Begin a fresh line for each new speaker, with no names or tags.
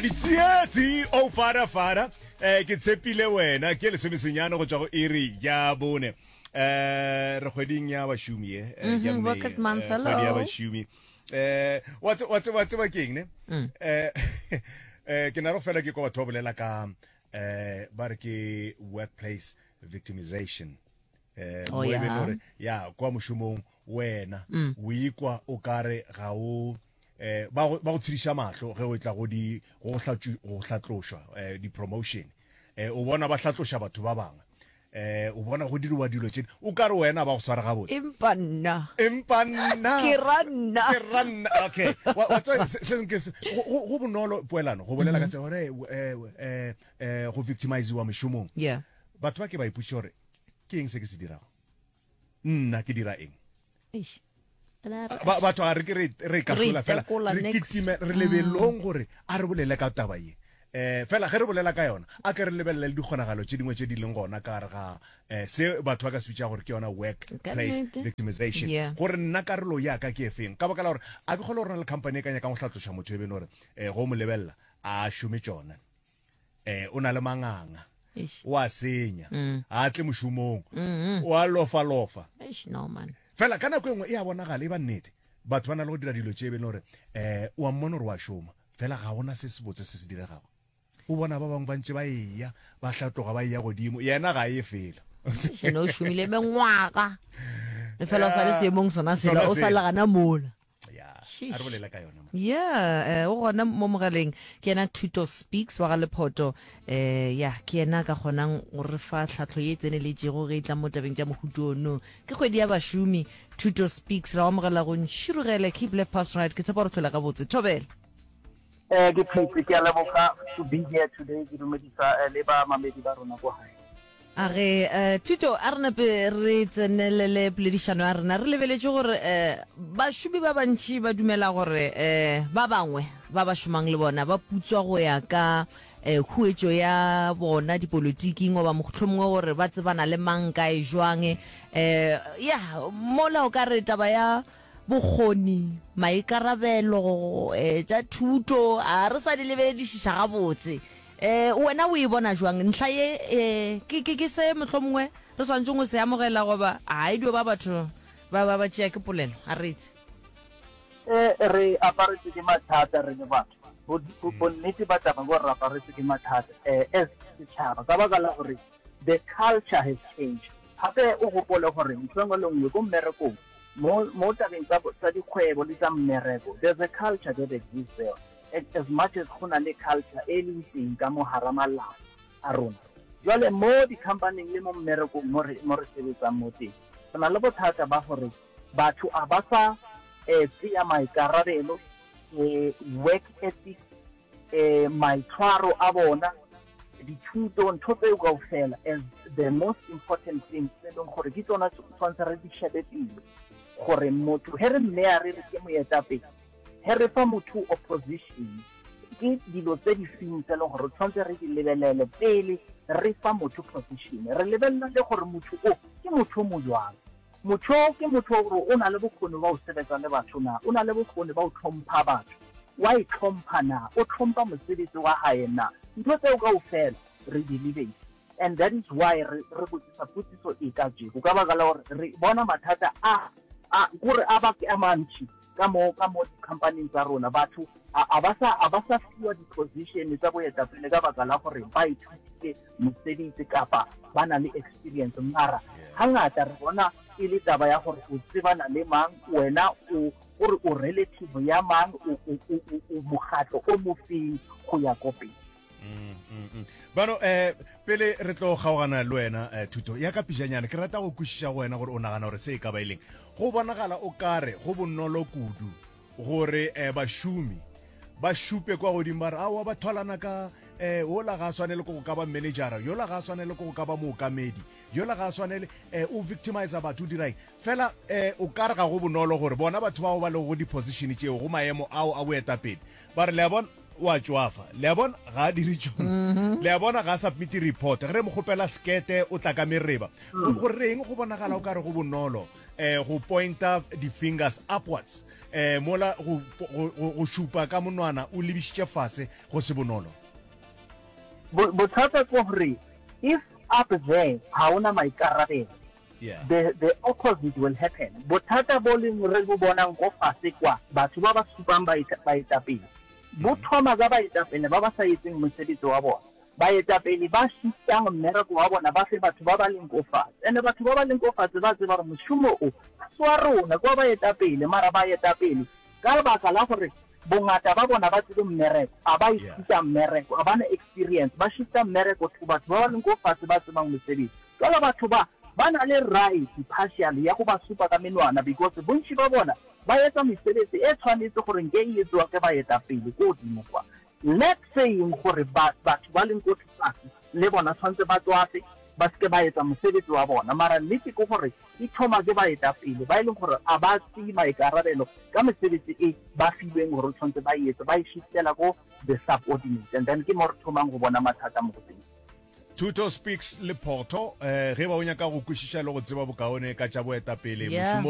Ditsietsi o fara fara eh ke tshepile wena ke lesomesenyane go tšwa go iri ya bone eh re kgweding ya bašomi ye eh, ya May,
Workers Month,
eh, kgwedi ya
hello.
bašomi eh wa tse- wa tseba tseba ke eng ne eh eh ke na re fela ke kwa batho ba bolela ka eh ba re ke workplace victimization eh
Oh,
mo e be le
yeah.
gore ya kwa mošomong wena o ikwa o kare ga o eh ba go ba go tshediša mahlo ge o tla go di go hlatšu go hlatlošwa eh di promotion eh o bona ba hlatloša batho ba bangwe eh o bona go diriwa dilo tše o ka re wena ba go swara gabotse
Empa nna.
empa nna
Ke ra nna.
ke ra nna okay wa wa tseba se se ke se go go- go bonolo poelano go bolela ka tsela gore eh eh eh go victimizewa mešomong
Yeah.
batho ba ke ba ipotšiša gore ke eng se ke se dirago Nna ke dira eng?
Eish.
Ba, batho ga re ke re, re ikahlola fela, re kitime, re lebelong gore a re bolele ka taba ye. Eh, fela ge re bolela ka yona, a ke re lebelele le dikgonagalo tše dingwe tše di leng gona ka gare ga eh, se batho ba ka se bitša gore ke yona workplace victimization. Gore nna karolo ya ka ke efeng? Ka baka la gore a ke kgole gore na le company e ka nyakang go hlatloša motho e be e le gore eh, go mo lebelela a šome tšona. eh o na le manganga o a senya mm. a tle mošomong mm-hmm. o a lofalofa
no man
fela ka nako e nngwe e a bonagala e ba nnete batho ba na le go dira dilo tše e be le gore um o a mmona gore wa šoma fela ga gona se se botse se se diregago o bona ba bangwe ba ntse ba eya ba hlatloga ba eya godimo yena ga e fela
ene o šomile mengwaga e fela o sa le seemong sona sela o sa le gana mola
ya a re bolela ka yona
yeah eh, o gona mo mogaleng ke yena Thuto Speaks wa ga Lephoto eh ya ke yena ka kgonang go re fa tlhahlo ye e tseneletšego ge e tla mo tabeng tša mohuto ono ke kgwedi ya bašomi Thuto Speaks ra amogela go ntšhirogele keep left pass right ke tshepa gore tlhola gabotse thobela
Eh ke phetse ke a leboga to be here today ke dumedisa eh, le ba mamedi ba rona ko gae.
A re, eh, Thuto, a re nape re tsenelele poledišano ya rena. Re lebeletše gore eh, bašomi ba bantši ba dumela gore eh, ba bangwe ba ba šomang le bona ba putswa go ya ka eh, khuetšo ya bona dipolotiking goba mohlomongwe gore ba tsebana le mang kae jwang. Eh, ya, mola o ka re taba ya bokgoni, maikarabelo, eh, tša thuto, a re sa di lebeledišiša gabotse. Eh, wena o e bona jwang ntlha ye? Eh, ke, ke, ke se mohlomongwe re swanetšeng go se amogela goba a e dio ba batho ba, ba, ba tšea ke polelo? A re itse.
Eh, re aparetswe ke mathata re le batho. Bo, bo, bonnete ba taba ke gore re aparetswe ke mathata eh, as setšhaba ka baka la gore the culture has changed. Gape o gopole gore ntho e nngwe le nngwe ko mmerekong Mo, mo tabeng tsa, tsa dikgwebo le tsa mmereko, there's a culture that exists there. As, as much as go na le culture e leng teng ka mo hara malapa a rona. Jwale mo di-company-ing le mo mmerekong mo re, mo re sebetsang mo teng, re na le bothata ba gore batho a ba sa eh, tseya maikarabelo, eh, work ethics, eh, maitshwaro a bona, dithuto, ntho tseo kaofela as the most important things tse leng gore ke tsona tshwanetse re di shebe pele gore motho he re mmeya re re ke moetapele, he re fa motho opposition ke dilo tse di feng tse leng gore tshwanetse re di lebelele pele re fa motho position. Re lebelela le gore motho o ke motho o mo jwang. Motho o ke motho wa gore o na le bokgoni ba go sebetsa le batho na? O na le bokgoni ba go tlhompha batho? Wa e tlhompha na? O tlhompha mosebetsi wa hae na? Ntho tseo kaofela re di lebetse and that is why re re botsisa potsiso e kajeko ka baka la gore re bona mathata a a kore a ba a mantši ka mo ka mo di-company tsa rona batho a ba sa a ba sa fiwa di-position tsa boetapele ka baka la gore ba ithutile mosebetsi kapa ba na le experience mara hangata re bona e le taba ya gore o tsebana le mang wena o gore o relative ya mang o o o o mokgatlo o mofeng go ya ko pele
Mm, mm, mm. Bano eh pele re tlo kgaogana le wena eh, thuto ya ka pijanyana ke rata go kwešiša go wena gore o nagana gore se e ka ba e leng go bonagala o kare go bonolo kudu gore eh, bašomi ba šupe kwa godimo ba re aowa ba thwalana ka eh ola ga a swanele ko go ka ba managera yola ga a swanele ko go ka ba mookamedi yola ga a swanele eh o victimizer batho o diraeng fela eh o ka re ga go bonolo gore bona batho bao ba lego go di-position tšeo go maemo ao a boetapele Ba re, Le a bona, o a tšwafa. Le a bona, ga a dire tšona. Le a bona, ga a submite report. Ge re mo kgopela sekete, o tla ka mereba. Go reng go bonagala o ka re go bonolo? um go pointa di-fingers upwards um mola go, go, go, go šupa ka monwana o lebišitše fase go se bonolo?
Bothata ke gore if up there ga o na maikarabelo,
Yeah.
the, the opposite will happen. Bothata bo leng re bo bonang ko fase kwa, batho ba ba supang baetapele, bo thoma ka baetapele ba ba sa etseng mosebetsi wa bona. Baetapele ba shiftang mmereko wa bona ba fe batho ba ba leng ko fatshe. Ene batho ba ba leng ko fatshe ba tseba gore mošomo o ga se wa rona, ke wa baetapele, mara baetapele ka lebaka la gore bongata ba bona ba tsebe mmereko, a ba ithuta mmereko, a ba na experience, ba shifta mmereko to batho ba ba leng ko fatshe ba tsebang mosebetsi. Jwale batho ba, ba na le right partially ya go ba supa ka menwana because bontši ba bona ba etsa mesebetsi e tshwanetse gore nke e etsoa ke baetapele ko godimo kwa. Let saying gore ba, batho ba leng ko tlase le bona tshwanetse ba tswafe ba seke ba etsa mosebetsi wa bona, mara nnete ke gore e thoma ke baetapele ba e leng gore a ba tseye maikarabelo ka mesebetsi e ba filweng gore tshwanetse ba e etse, ba e shiftela ko the subordinates and then ke mo re thomang go bona mathata mo go teng.
Thuto Speaks le Photho, eh, ge ba o nyaka go kwešiša le go tseba bokaone ka tša boetapele
Yeah.
mošomong.